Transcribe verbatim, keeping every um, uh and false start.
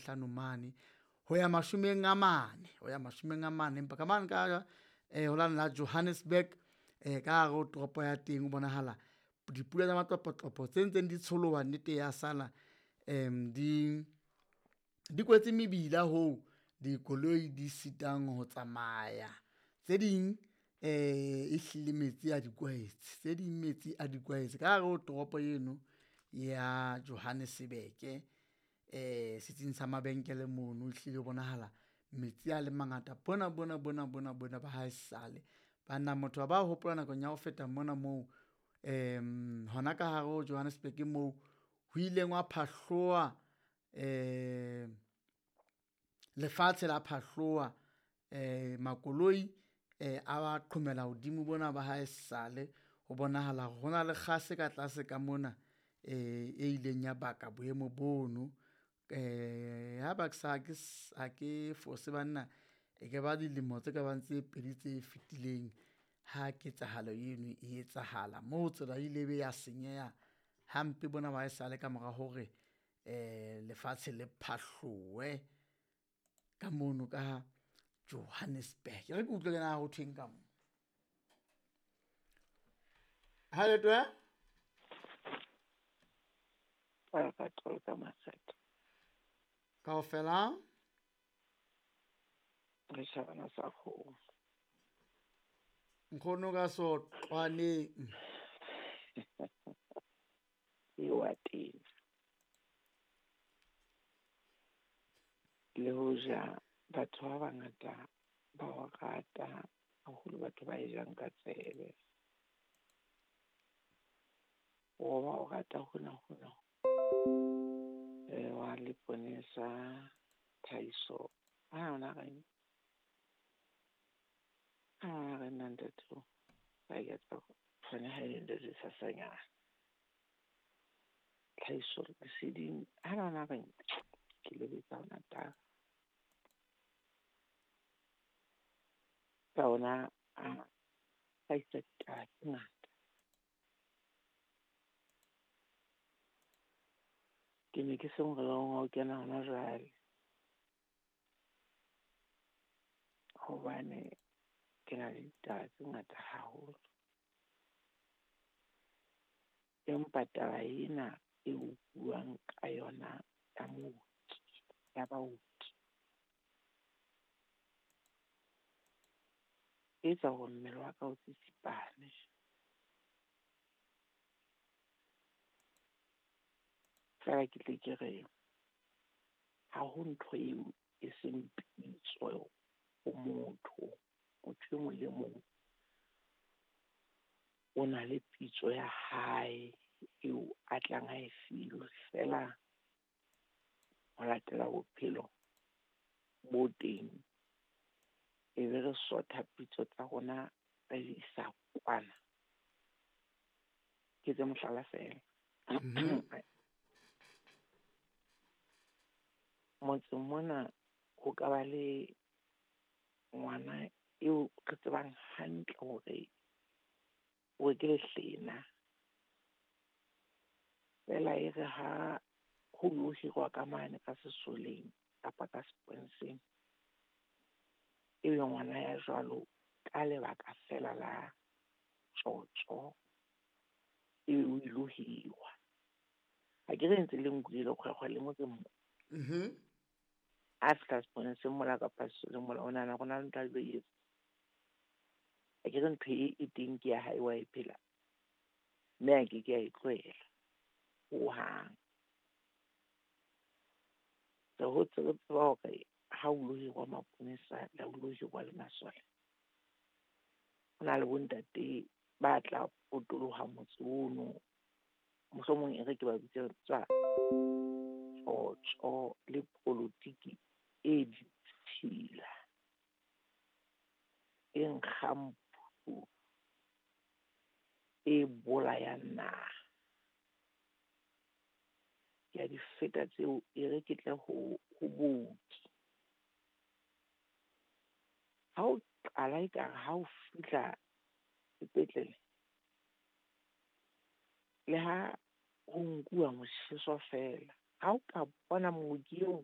hlano mane ho ya mashomeng a mane ho ya mashomeng a mane. Empa ka mane ka eh ho lane la Johannesburg eh ka hare ho toropo ya teng ho bonahala dipula tsa matlopotlopotse tse ntseng di tsholoha nnete ya sala em di di kwetse mebila hoo dikoloi di sitang ho tsamaya. Tse ding eh ehlile metsi a di kwaetse, tse ding metsi a di kwaetse ka hare ho toropo eno ya Johannesburg eh setsing sa mabenkele mono ehlile ho bonahala metsi a le mangata bona bona bona bona bona ba haesale. Banna motho a ba hopola nakong ya ho feta mona moo em hona ka hare ho Johannesburg moo ho ileng hwa phahloha eh lefatshe la phahloha eh makoloi eh a ba qhomela hodimo bona ba haesale. Ho bonahala hore hona le kgase ka tlase ka mona eh e ileng ya baka boemo bono. Eh ha ke sa ha ke fose banna e ka ba dilemo tse kabang tse pedi tse fetileng ha ketsahalo eno e etsahala moo tsela e ile be ya senyeha hampe bona ba haesale ka mora hore eh lefatshe le phahlowe ka mono ka Johannesburg. E re ke utlwe le na ho thweng ka mo. Ha le twe? Kaofela? Re shabana sa kgomo. Nkgono ka sotlwaneng. E wa teng. Le hoja batho ba bangata ba o rata haholo, batho ba e jang ka tsebe. O ba o rata hona hona. Eh wa Leponesa Tlhahiso. Ha ona reng? Ha re nna ntate o. Ba ke tsa tshwane ha e ntate sasanyana. Tlhahiso leseding. Ha ona reng? Ke lebetsa hona taba. Ka ona a hlahisa ditaba tse ngata. Ke ne ke se morerong wa ho kena hona jwale. Hobane ke na le ditaba tse ngata haholo. Empa taba ena eo buang ka yona ya mooki, ya baoki, e etsa hore mmele wa ka o tsitsipane. Feela ke tle ke re ha ho ntho eo e seng pitso ho motho. Motho e mong le mong o na le pitso ya hae eo a tlang a e filwe feela ho latela bophelo bo teng. E be re sotha pitso tsa rona re di isa kwana. Ke tse mohlala feela. Motseng mona ho ka ba le ngwana eo re tsebang hantle hore o ke lehlena. Feela e re ha ho lo hirwa ka mane ka sesoleng kapa ka seponeseng, ebe ngwana ya jwalo ka lebaka feela la tjotjo ebe o ilo hirwa. Ha ke re ntse le nkutlwile kgwekgwe le motseng mo. Mhm. A fihla seponeseng mola kapa sesoleng mola, o nahana hore na le ntho a tlo e etsa. Ha ke re ntho e e teng ke ya hae wa e phela, mme a ke ke a e tlohela hohang. Re hotse re tseba hore ha o lo hirwa maponesa le ha o lo hirwa le masole, ho na le bontate ba tla potoloha motse ono. Mohlomong e re ke ba bitsetsa tjotjo le politiki e ditshila, e nkgang phu, e bolayang naha. Ke a di feta tseo, e re ke tle ho, ho booki. Ha o qala ekare ha o fihla sepetlele, le ha ho nkuwa motjheso feela, ha o ka bona mooki eo